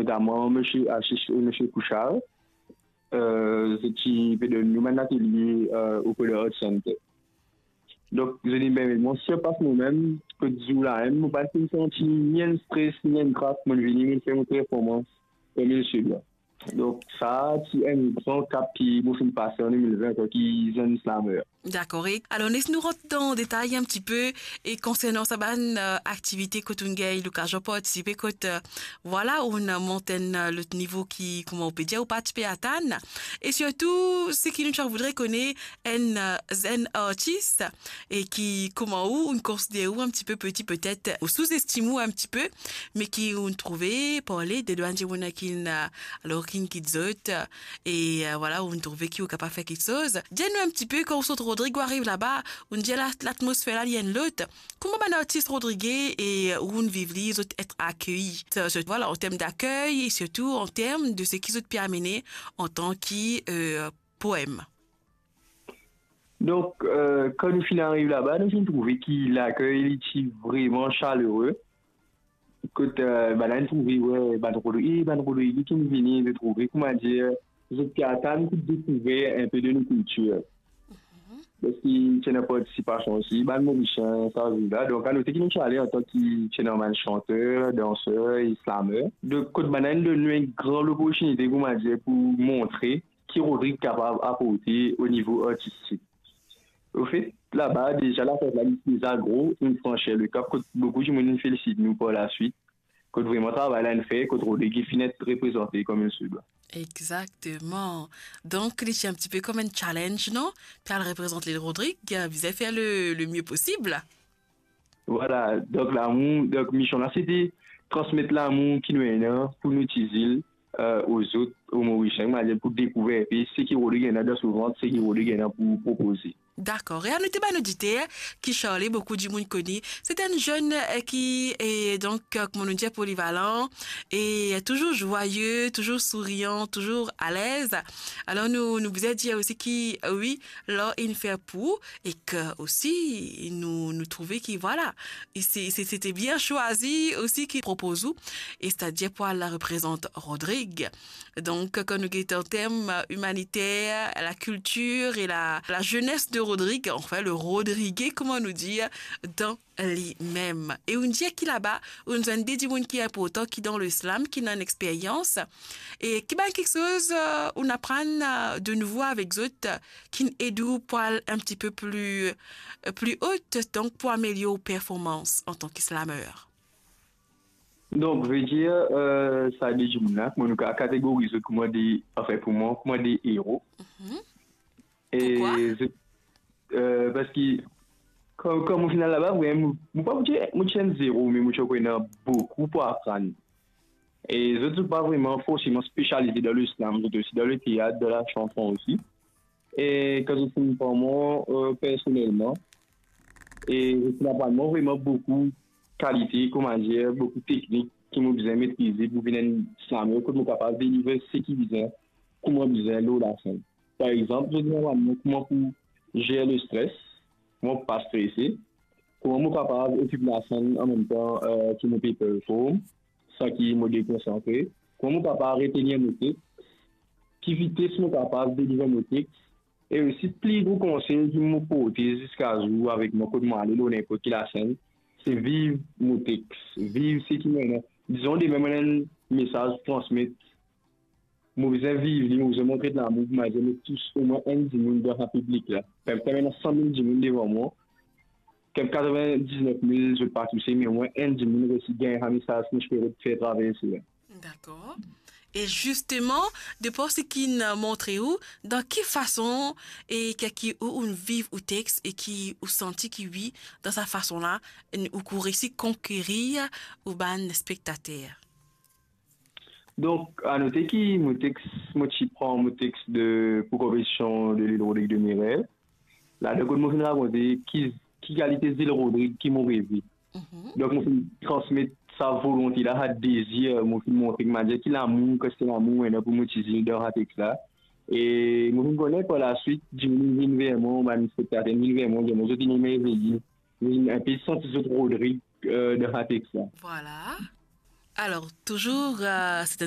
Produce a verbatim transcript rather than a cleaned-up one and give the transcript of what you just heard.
notaman Misie Asis e Misie Pouchar, euh, zot ti pe donn nou bann atelie, euh, opre de Art Center. Donk, zot inn permet mwa sirpas momem, kot zour la mem, mo pa finn santi ni enn stres, ni enn krak, mo'nn vini, mo'nn fer mo performans, kouma se dwa. Donk, sa ti enn gran kap ki mo finn pase an de mil ven, antanki zenn slameur. Dakor. E alor, les nou rant dan detay enn tipe, e konsernan sa bann, euh, aktivite kot ou'nn gagn lokazion partisipe, kot, euh, vwala, ou'nn mont enn, euh, lot nivo ki, kouma ou pe dir, ou pa ti pe atann. E sirtou, seki nou ti a voudre kone, enn, euh, zenn artis, e ki, kouma ou, ou'nn konsider ou enn tipe peti petet, ou souzestim ou enn tipe, me ki ou'nn trouve, parle de bann dimoun ki'nn, euh, alor ki'nn kit zot, e, euh, vwala, ou'nn trouve ki ou kapav fer kiksoz. Dir nou enn tipe, kan ou sort Rodrig, ou ariv laba, ou'nn dir la, latmosfer la, li enn lot. Kouma bann artis rodrige e ou'nn viv li, zot et akei? Sa, zot, vwala, an term dakey e sirtou an term de seki zot pe amene antanki, euh, poem. Donk, euh, kan nou finn ariv laba, nou finn trouve ki lakey li ti vreman salere. Kot, euh, bann la inn trouve, we, bann Rodrig, e bann Rodrig ki'nn vini, zot trouve, kouma dir, zot ti atann pou dekouver enn pe de nou kiltir. Paski ti ena partisipasion osi bann Morisien sa zour la. Donk, anote ki nou ti ale antanki ti ena bann santer, danser e slameur. Donk, kot bann la inn donn nou enn gran loportinite, kouma dir, pou montre ki Rodrig kapav aporte o nivo artistik. Anfet, laba, deza, lafet la, li deza gro, inn fransi le kap, kot boukou dimoun inn felisit nou par laswit, kot vreman travay la inn fer, kot Rodrig finn et reprezante kouma se dwa. Exactement. Donk, li ti enn tipe kouma enn challenge, non? Pou al reprezant lil Rodrig, bizin fer le, le mie posib. Vwala, donk lamour, donk mision la, se de transmet lamour ki nou ena pou nou ti zil, euh, o zot, o Morisien, kouma dir, pou dekouver enn pe seki Rodrig ena dan so vant, seki Rodrig ena pou propoze. Dakor. E anote bann oditer ki Charlie, boukou dimoun kone, se enn zenn, euh, ki, e donk, euh, kouma nou dir, polivalan, e touzour zwaye, touzour sourian, touzour alez. Alor nou, nou bizin dir osi ki, euh, wi, lar inn fer pou ou, e ki osi nou, nou trouve ki, vwala, e se, se, se ti bien swazi osi ki propoz ou, e setadir pou al reprezant Rodrig. Donk, kan nou get an term, euh, imaniter, lakiltir e la, lazenes de Rodrig, anfin, le Rodrige, kouma nou dir, dan limem. E ou'nn dir ki laba, ou'nn zwenn de dimoun ki inportan, ki dan le slam, ki ena enn experyans. E ki bann kiksoz, euh, ou'nn aprann, euh, de nouvo avek zot, euh, ki'nn ed ou pou al enn tipe pli, euh, pli o, donk pou amelior ou performans antanki slameur? Donk, vedir, euh, sa de dimoun la, mo, nou ka kategoriz zot kouma de, anfin, pou mwa, kouma de ero. Mhm. E Pourquoi? Zot, euh, paski kan, kan mo finn al laba, vreman, mo, mo pa pou dir mo ti enn zero, me mo ti ankor ena boukou pou aprann. E zot, zot pa vreman forseman spesialize dan le slam, zot osi dan le teat, dan lasanson osi. E kan zot finn pran mwa, euh, personelman, e zot finn aprann mwa vreman boukou kalite, kouma dir, boukou teknik ki mo bizin metrize pou vinn enn slameur, kot mo kapav deliver seki bizin, kouma bizin lor lasenn. Par exanp, zot inn aprann mwa kouma pou zer lestres, kouma pou pa strese, kouma mo kapav okip lasenn anmemtan, euh, ki mo pe perform, san ki mo dekonsantre, kouma mo kapav retenir mo teks, ki vites mo kapav deliver mo teks, e osi pli gro konsey ki mo porte ziska zour avek mwa kot mo ale lor ninport ki lasenn, se viv mo teks, viv seki mo ena. Dizon demin mo ena enn mesaz pou transmet, mo bizin viv li, mo bizin montre lamour pou mo, mo bizin tous omwin enn dimoun dan sa piblik la. Mem kan ena san mil dimoun devan mwa, katrevin-diznef mil zot pa touse, me omwin enn dimoun resi gagn sa mesaz ki mo ti pe fer traverse la. Dakor. E zisteman, de par seki inn montre ou, dan ki fason e ki, ki ou, ou'nn viv ou teks e ki ou santi ki wi, dan sa fason la, ou, ou resi konkerir ou bann spektater? Donk, anote ki mo teks, mo ti pran mo teks de, pou konpetision de Lil Rodrig de Mes Rêves. Ladan kot mo finn rakonte ki, ki kalite Lil Rodrig ki mo reve. Mhm. Donk, mo finn transmet sa volonte la, sa dezir, mo finn montre ki mo dir ki lamour, kantite lamour mo ena pou mo ti zil dan sa teks la. E mo finn kone par laswit, dimoun vinn ver mwa, bann spektater vinn ver mwa, dir mwa zot inn eme veye. Mo finn enpe santi zot Rodrig, euh, dan sa teks la. Vwala. Alor, touzour, euh, se